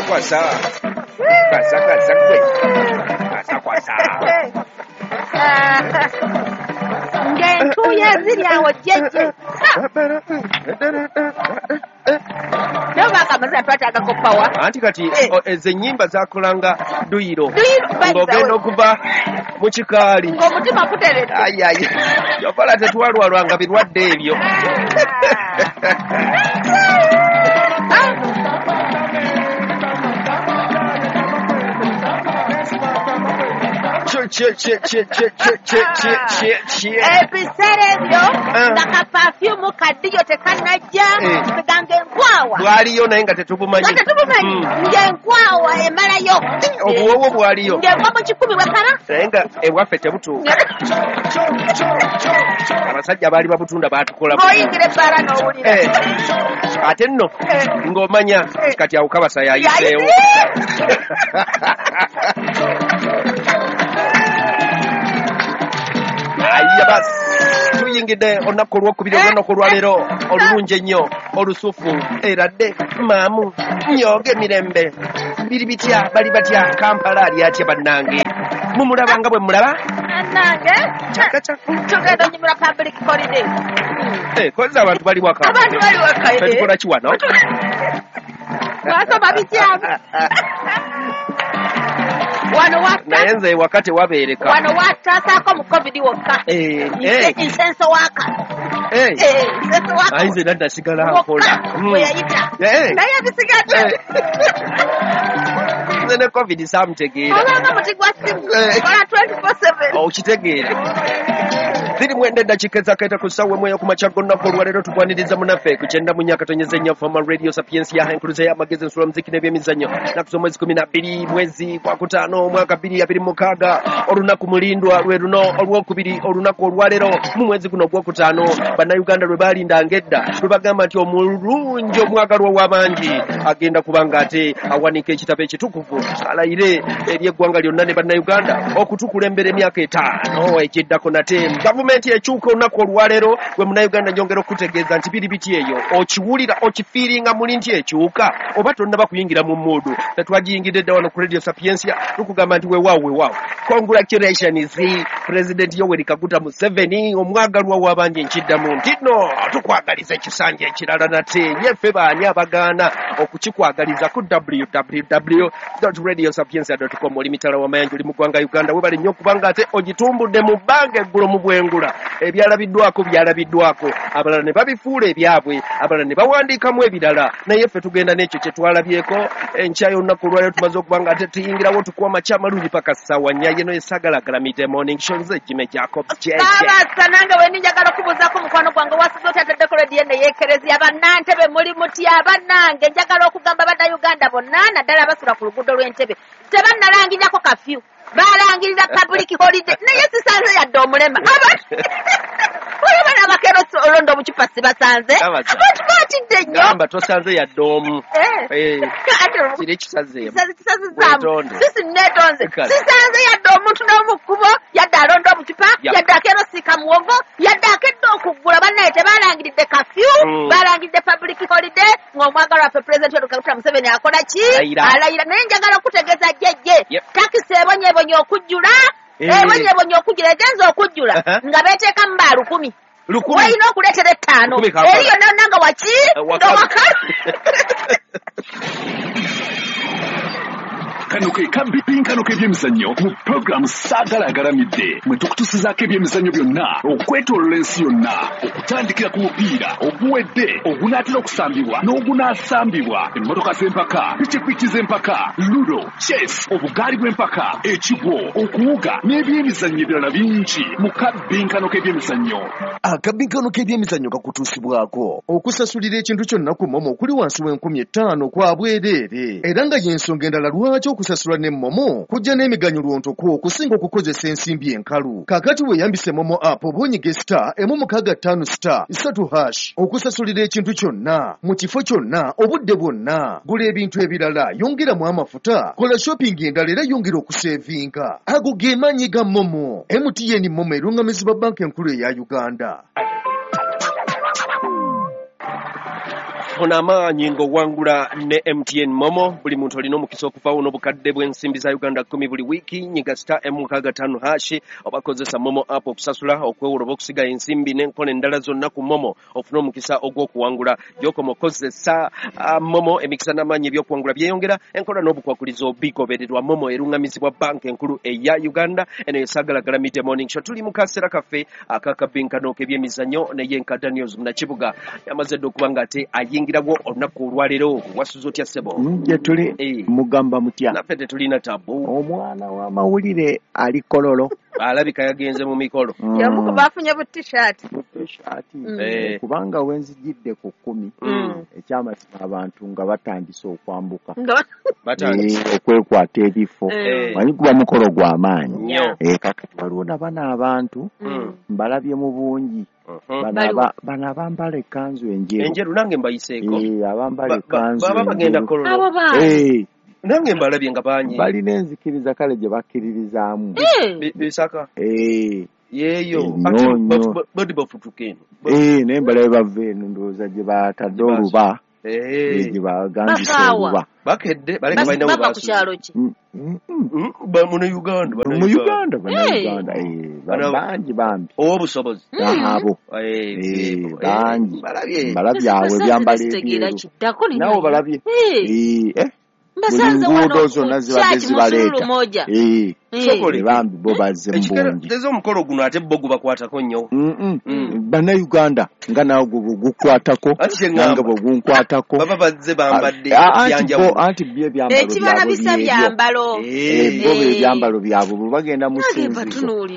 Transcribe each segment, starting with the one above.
Kwasa kwasa. Kwasa kwasa gwe. Kwasa kwasa. Ng'entuuyo eziri awo jjejje. Naye obanga amazina twataagako power. Anti kati ezo ennyimba zakolanga dduyiro. Dduyiro, Ng'ogenda okuva mu kikaali. Ng'omutima guteredde. Ayi ayi. Yokola tetwalwalwanga birwadde ebyo. Che che che che che che che che che. Ebiseera ebyo nga ka perfume kaddiyo tekannajja, nga enkwawa. Bwaliyo naye nga tetubumanyi. Nga tetubumanyi. Ng'enkwawa emalayo. Obuwoowo bwaliyo. Ng'egwa mu 10 bwekala. Naye nga ewaffe tebutuuka. Abasajja baali babutunda baatukola. Ng'oyingira ebbaala n'owulira. Ate nno ng'omanya kati awo kabasa yayiseewo. Ayiya basi tuyingidde olunaku olwokubiri olunaku olwaleero olulungi ennyo olusufu eradde maamu nyoga emirembe biri bitya bali batya Kampala ali atya bannange mumulaba nga bwe mulaba Bannange tugenda onyumira public holiday. Kozza abantu bali waka. Abantu bali waka. Tukola ki wano? Twasoma bityamu. Wano waka. Naye nze ewaka tewabeereka. Wano watasaako mu COVID wokka. Insenso waka. Insenso waka. Ayi nze nadda sigala nkola. Bwe yayita. Naye ebisigadde. Nze ne COVID saamutegeera. Obanga muti gwa ssimu. Kola 24/7. Okitegeera. 29 eddakiika ezakaita ku ssaawa emu ey'okumakya g'olunaku olwaleero tukwaniriza munnaffe ku 94.4 Fama Radio Sapiensia enkuluze y'amagezi ensula muziki n'ebyemizannyo nnaku z'omwezi 12 mwezi gwa 5 mwaka 2026 olunaku mulindwa lwe luno olwokubiri olunaku olwaleero mu mwezi guno ogwokutaano bannayuganda lwe baalindanga edda lwe bagamba nti omulungi omwagalwa w'abangi agenda kuba ng'ate awanika ekitabo ekitukuvu alayire eri eggwanga lyonna ne bannayuganda okutukulembera emyaka 5 ekiddako nate gavumenti ekyuka olunaku olwaleero gwe munnayuganda njongera okutegeeza nti biri biti eyo okiwulira okifiiringa muli nti ekyuka oba tonnaba kuyingira mu muudu tetwagiyingidde dda wano ku Radio Sapiensia tukugamba nti weewaawo weewaawo congratulations President Yoweri Kaguta Museveni omwagalwa w'abangi nkiddamu nti no tukwagaliza ekisanja ekirala nate yeffe baani abagaana okukikwagaliza ku www.radiosapiensia.com oli mitala w'amayanja oli mu ggwanga Uganda webale nnyo okubanga ate ogitumbudde mu bbanga eggulo mu bwengula ebyalabiddwako byalabiddwako abalala ne babifuula ebyabwe abalala ne bawandiikamu ebirala naye ffe tugenda n'ekyo kye twalabyeko enkya y'olunaku olwaleero tumaze okuba nga ate tuyingirawo tukuwa amakya amalungi paka ssaawa nnya yeno esagalaagalamidde morning show nze Jimmy Jacob JJ. Saabasa nange we njagala okubuuzaako mukwano gwange wasize otya ataddeko rediyo eno ey'ekereziya bannantebe muli mutya bannange njagala okugamba bannayuganda bonna naddala abasula ku luguudo lw'Entebe tebannalangirako kafyu balangirira public holiday naye sisanze yadde omulema olaba abakeera olonda obucupa sibasanze abantu batidde nnyo gamba tosanze yadde omu kiri kisazeemu kisazizaamu sisi neetonze sisanze yadde omuntu n'omu kkubo yadde alonda obucupa yadde akeera osiika muwogo yadde akedde okuggula bannaye tebalangiridde kafyu balangiridde public holiday ng'omwagalwa waffe President Yoweri Kaguta Museveni akola ki alayira naye njagala okutegeeza jjejje takisi ebonyebonye okujjula ebonyebonye okujjula egenza okujjula nga beeteekamu ba 1000 walina okuleetera 5 eri yonna yonna nga waki nga wakalu. Kano ke kabinkano k'ebyemizannyo mu pulogulaamu Saagala Agalamidde mwe tukutusizaako ebyemizannyo byonna okwetoolola ensi yonna okutandikira ku mupiira oguwedde ogunaatera okusambibwa n'ogunaasambibwa emmotoka z'empaka pikipiki z'empaka ludo chess obugaali bw'empaka ekigwo okuwuga n'ebyemizannyo ebirala bingi mu kabinkano k'ebyemizannyo. Akabinkano k'ebyemizannyo kakutuusibwako okusasulira ekintu kyonna ku momo kuli wansi w'e5,000 kwa bwereere era nga y'ensonga endala lwaki okusasula ne momo kujja n'emiganyulo ntoko okusinga okukozesa ensimbi enkalu. Kaakati weeyambise momo app oba onyige *165*3# okusasulira ekintu kyonna mu kifo kyonna obudde bwonna. Gula ebintu ebirala, yongeramu amafuta, kola shopping endala era yongera okusevinga. Ago ge maanyi ga momo. MTN momo erungamizibwa Banka Enkulu eya Uganda. Funa amaanyi ng'owangula ne MTN Momo. Buli muntu olina omukisa okuvaawo n'obukadde bw'ensimbi za Uganda 10 buli wiiki. Nyiga *M65# oba kozesa Momo app okusasula, okwewola oba okusiga ensimbi n'enkola endala zonna ku Momo ofune omukisa ogw'okuwangula. Gy'okoma okozesa Momo, emikisa n'amaanyi eby'okuwangula byeyongera, enkola n'obukwakulizo bigobererwa. Momo erungamizibwa banka enkulu eya Uganda. Eno yesagalagala Midday Morning Show. Tuli mu kaseera kaffe akakabinkano k'ebyemizannyo naye nka Daniels Munakibuga yamaze dda okuba nga ate ayingirawo olunaku olwaleero. Wasuze otya ssebo? Gye tuli mugamba mutya? Naffe tetulina tabu. Omwana w'amawulire ali Kololo. Alabika yagenze mu mikolo. Yamuko bafunye bu t-shirt. Kubanga wenzijidde ku 10 ekyamazima abantu nga batandise okwambuka. Okwekwata ebifo. Manyi kuba mukolo gw'amaanyi. Kakati waliwo na bano abantu mbalabye mu bungi. Bano abambala ekkanzu enjeru. Enjeru nange mbayiseeko. Abambala ekkanzu baba bagenda Kololo. Nange mbalabye nga bangi. Balina enzikiriza kale gye bakkiririzaamu. Bisaka. Yeeyo. Bodi bafutuka eno. Naye mbalabe bava eno ndowooza gye batadde oluba. Gye bagambisa oluba. Bakedde baleka balina we bava ku kyalo ki? Muno Uganda. Mu Uganda bannayuganda. Bangi bambi. Ow'obusobozi. Abo. Bangi. Mbalabye awo ebyambalo ebyeru. Naawe balabye. Mbasanze wano zonna zibadde zibaleeta. Bambi bo bazze mu bungi. Tezo omukolo guno ate bo gubakwatako nnyo. Bannayuganda nga naawe gukwatako nange bwe gunkwatako. Baba bazze bambadde ebyanjawulo. Anti byo ebyambalo ekibalabisa byambalo. Bo ebyambalo byabwe bwe bagenda mu ssinzizo.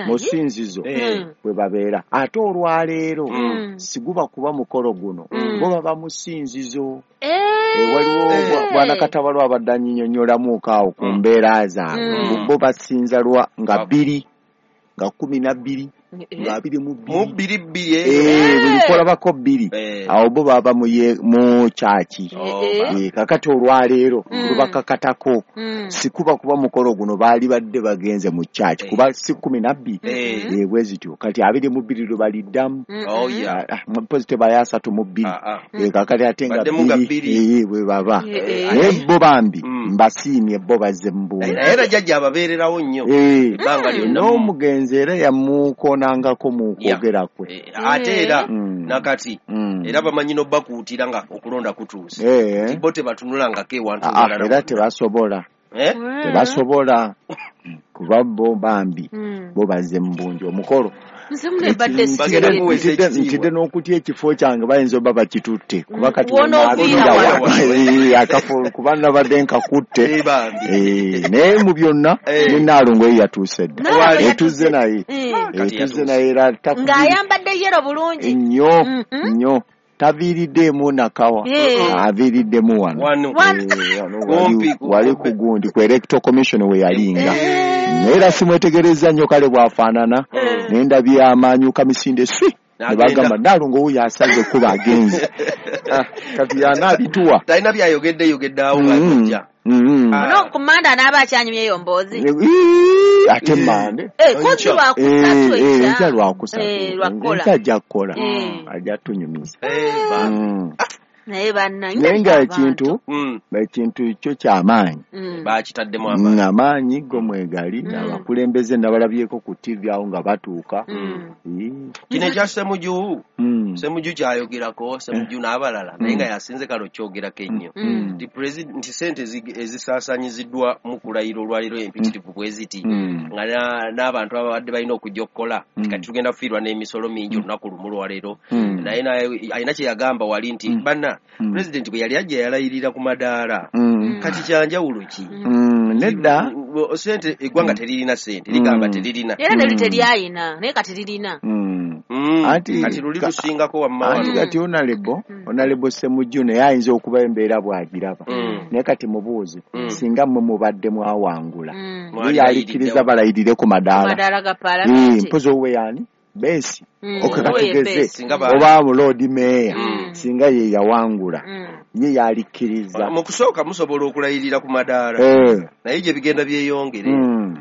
Mu ssinzizo bwe babeera. Ate olwaleero siguba kuba mukolo guno. Bo baba mu ssinzizo. Waliwo bwana Katabalo abadde annyinnyonnyolamuko awo ku mbeera zaabwe. Bo basinza lwa nga 2 nga 12 nga 22 mu 22 buli kolabako 2 awo bo baba mu kyaki. Kakati olwaleero lubakakatako sikuba kuba mukolo guno baali badde bagenze mu kyaki kuba si 12 bwe zityo kati 22 lwe baliddamu. Mpozi tebali 32 kakati ate nga 2 bwe baba. Naye bo bambi mbasiimye bo bazze mu bungi. Era jjajja ababeererawo nnyo ebbanga lyonna. N'omugenzi era yamukoonangako mu kwogera kwe. Ate era nakati era bamanyi n'obbakuutira nga okulonda kutuuse. Bo tebatunulangako ewantu walala. Era tebasobola. Tebasobola kuba bo bambi bo bazze mu bungi omukolo. Ntidde n'okutya ekifo kyange bayinza oba bakitutte kuba kati akafo kuba nabadde nkakutte. Naye mu byonna ne Nnaalongo ye yatuuse dda. Etuzze naye. Etuzze naye era ng'ayambadde yero bulungi. Nnyo nnyo. Taviiriddemu nakawa. Aviiriddemu wano. Wali ku gundi ku Electoral Commission we yalinga. Naye era simwetegereza nnyo kale bw'afaanana. Naye ndabye amaanyuka misinde swi. Ne bagamba Nnaalongo wuuyo asaze kuba agenze. Kati y'anaabituwa. Talina byayogedde yogedde awo ng'ajja. Ono ku Mmande anaaba akyanyumya eyo mboozi. Ate Mmande. Kozi lwakusatu enkya. Enkya lwakusatu. Enkya ajja kukola. Ajja tunyumiza. Naye bannange. Naye nga ekintu kyo ky'amaanyi. Bakitaddemu amaanyi. Amaanyi go mwegali abakulembeze nabalabyeko ku TV awo nga batuuka. Kino ekya Ssemuju. Ssemuju kyayogerako, Ssemuju n'abalala naye nga yasinze kale okyogerako ennyo. Nti nti ssente ezisaasaanyiziddwa mu kulayira olwaleero empitirivu bwe ziti nga n'abantu ababadde balina okujja okukola kati tugenda kufiirwa n'emisolo mingi olunaku lumu lwaleero. Naye alina kye yagamba wali nti banna President bwe yali ajja yalayirira ku madaala. Kati kyanjawulo ki? Nedda sente eggwanga teririna sente ligamba teririna. Era ne literyayina naye kati lirina. Kati luli lusingako wamma. Anti kati Honorable Ssemujju naye ayinza okuba embeera bw'agiraba. Naye kati mubuuze singa mmwe mubadde mwawangula. Ye yalikiriza balayirire ku madaala. Mpozi owuwe yaani? Besi. Okatugeze oba Lord Mayor singa ye yawangula ye yalikkiriza. Mu kusooka musobola okulayirira ku madaala naye gye bigenda byeyongere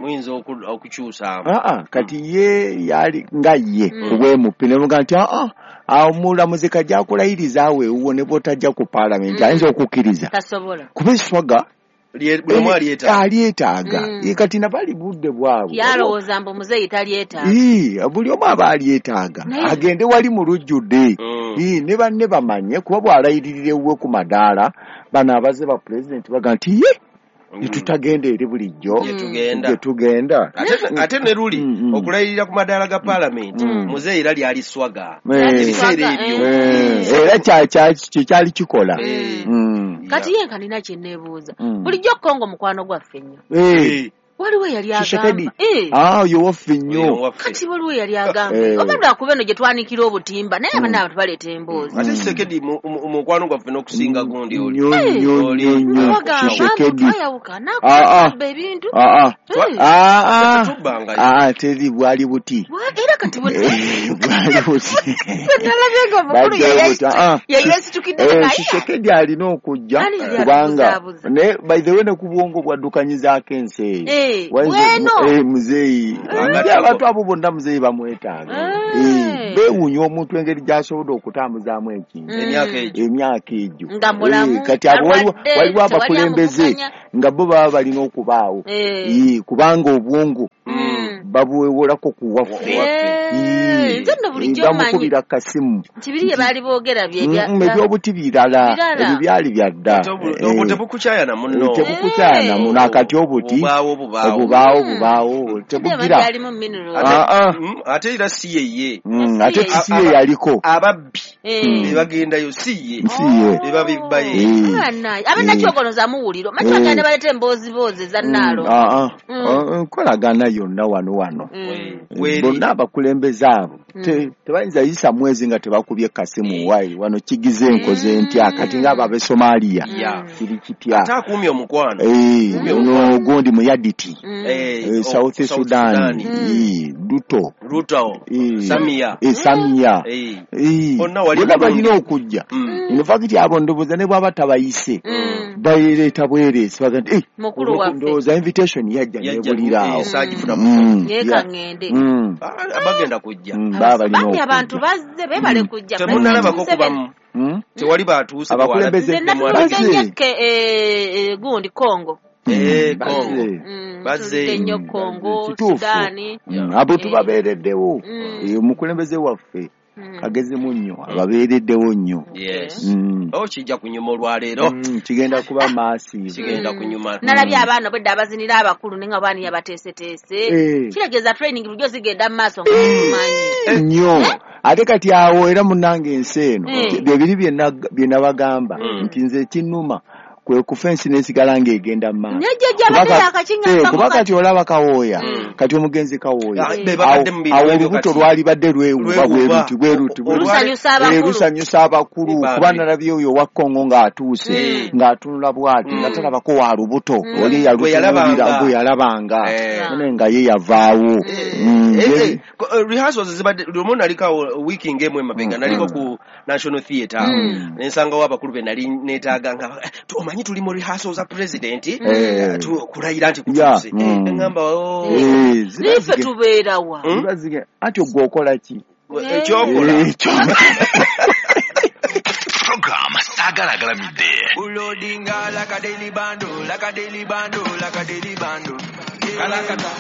Muyinza okukyusaamu. Kati ye yali nga ye kubwemupi ne muga nti omulamuzi kajja kulayiriza awo ewuwo ne bw'otajja ku paalamenti ayinza okukkiriza. Tasobola. Kuba eswaga alyetaaga. Kati nabali budde bwabwe. Yalowooza mbu muzeeyi talyetaaga. Buli omu aba alyetaaga. Agende wali mu lujjudde. Ne banne bamanye kuba bw'alayiririra ewuwe ku madaala bano abaze ba pulezidenti baga nti ye netutagenda eri bulijjo gye tugenda. Ate ne luli okulayirira ku madaala ga paalamenti muzeeyi era lyali swaga. Ebiseera ebyo. Era kyali kikola. Kati ye nka nina kye neebuuza. Bulijjo Kongo mukwano gwaffe nnyo. Waliwo yali agamba. Oyo waffe nnyo. Kati waliwo yali agamba. Oba lwakuba eno gye twanikira obutimba naye abaana abantu baleeta emboozi. Ate Tshisekedi mukwano gwaffe n'okusinga gundi oli. Nnyo. Tshisekedi. Twayawukana n'akuba ebintu. Teri bwali buti. Era kati bwali buti. Nalabye nga omukulu yeyesitukidde naye. Tshisekedi alina okujja kubanga ne by the way ne ku bwongo bwaddukanyizaako ensi eyo. Muzeeyi abantu abo bonna muzeeyi bamwetaaga. Beewuunya omuntu engeri gy'asobodde okutambuzaamu ekintu emyaka egyo. Kati abo waliwo abakulembeze nga bo baba balina okubaawo kubanga obwongo babuwewolako ku waffe. Nze nno bulijjo mmanyi bamukubira kasimu nti biri bye baali boogera ebyobuti birala ebyo byali bya dda. Tebukukyayana muno. Tebukukyayana muno akati obuti obubaawo tebugira. Ate era si ye. Ate si ye yaliko. Ababbi be bagendayo si ye. Be babibbayo. Abannakyogonoza muwuliro. Manyi bagenda baleeta embooziboozi eza nnaalo. Nkolagana yonna wano. Bonna abakulembeze abo tebayinza yisa mwezi nga tebakubye kasimu wayi wano kigize enkoze ntya kati ng'abo ab'e Somalia kiri kitya. Ate akuumye omukwano. Ono gundi Muyaditi. South Sudan. Ruto. Samia. Samia. Bonna balina okujja. In fact abo ndowooza ne bw'aba tabayise bayireeta bwereesi baga nti ndowooza invitation yajja nebulira awo. Yeekaŋŋende. Bagenda kujja. Bambi abantu bazze beebale kujja. Temunnalabako kubamu. Tewali batuuse. Abakulembeze bazze. Gundi Kongo. Kongo. Bazze nnyo Kongo, Sudaani. Abo tubabeereddewo. Omukulembeze waffe kagezi munnyo ababeereddewo nnyo. Kijja kunyuma olwaleero. Kigenda kuba massive. Kigenda kunyuma. Nalabye abaana obwedda abazinira abakulu naye nga baani yabateeseteese. Kitegeeza training bulijjo zigenda mu maaso nga tumanyi. Nnyo. Ate kati awo era munnange ensi eno bye biri bye nabagamba nti nze ekinnuma kwe kufa ensi n'esigala ng'egenda mu maaso. Kuba kati olaba Kawooya, kati omugenzi Kawooya awo olubuto lwalibadde lwewuba bwe luti lusanyusa abakulu kuba nalabye oyo owa Kongo ng'atuuse ng'atunula bw'ati nga talabako wa lubuto oli yalutunuulira gwe yalabanga naye nga ye yavaawo. Rehearsals zibadde lumu naliko wiiki ng'emu emabega naliko ku National Theatre ne nsangawo abakulu be nali neetaaga nga omanyi tuli mu rehearsals za president kulayira nti kutuuse. Ngamba niffe tubeerawa. Anti ogwo okola ki? Ekyokola. Program Sagalagalamidde. Ulodinga like a daily bando, like a daily bando, like a daily bando. Kalakata.